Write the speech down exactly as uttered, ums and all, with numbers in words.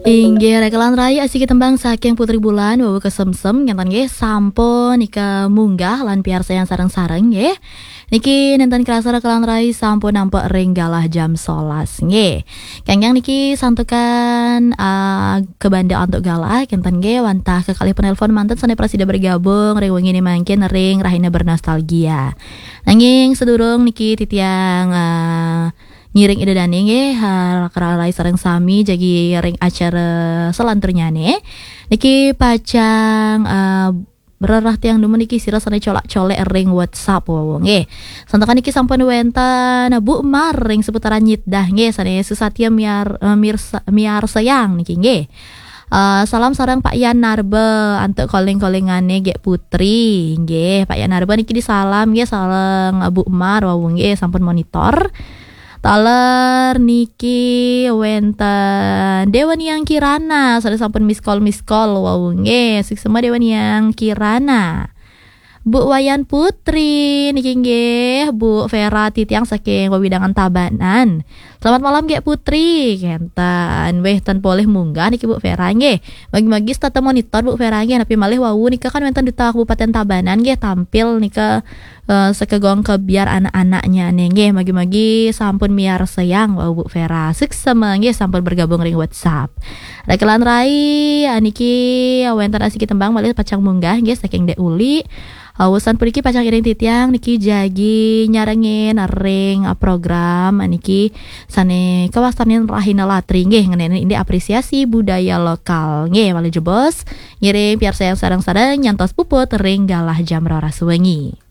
Inggih, rekelan rai asiki tembang saking Putri Bulan, Wawu Kesemsem, ngenten nggih, sampun nika munggah lan piarsayang sareng-sareng nggih. Niki nenten kerasa rekelan rai sampun nampek ring galah jam solas nggih. Kengkeng niki santukan, ah, kebanda antuk galah, kenten nggih, wantah kekalih penelpon manten sane prasida bergabung ring wengi ni mangkin ring Rahina Bernostalgia. Nanging sedurung niki titiang, ah, ngiring ida dane nggih, ah, rekelan rai sareng sami jagi ring acara selanturnyane. Niki pacang, ah, rerah tiang dumun niki sira sane colak-colek ring WhatsApp wawu nggih. Santukan niki sampun wenten Bu Mar ring seputaran Nyidah nggih, sane susatia miar, eh, mirsa, miarsayang niki nggih. Eh, salam sareng Pak Yan Narba antuk calling-callingane Gek Putri nggih. Pak Yan Narba niki disalam nggih sareng Bu Mar wawu nggih, sampun monitor. Taler niki wenten Dewa Niang Kirana, sane sampun miss call, miss call wawu nggih. Suksma Dewa Niang Kirana. Bu Wayan Putri niki nggih, Bu Vera titiang saking wewidangan Tabanan. Selamat malam Gek Putri. Kenten weh ten polih munggah niki Bu Vera nggih. Magi-magi setata monitor Bu Vera nggih, napi malih wawu nika kan wenten duta Kabupaten Tabanan nggih tampil nika, eh, sekegong kebiar anak-anaknya nih nggih, magi-magi sampun miarsayang wawu Bu Vera. Suksma nggih sampun bergabung ring WhatsApp. Rekelan rai, ah, niki wenten asiki tembang malih pacang munggah nggih saking Dek Uli. Ah, usan puniki pacang iring titiang niki jagi nyarengin ring, ah, program, ah, niki sane kawastanin Rahina Latri nggih, ngeninin indik apresiasi budaya lokal nggih, malih jebos ngiring piarsayang sareng-sareng nyantos puput ring galah jam roras wengi.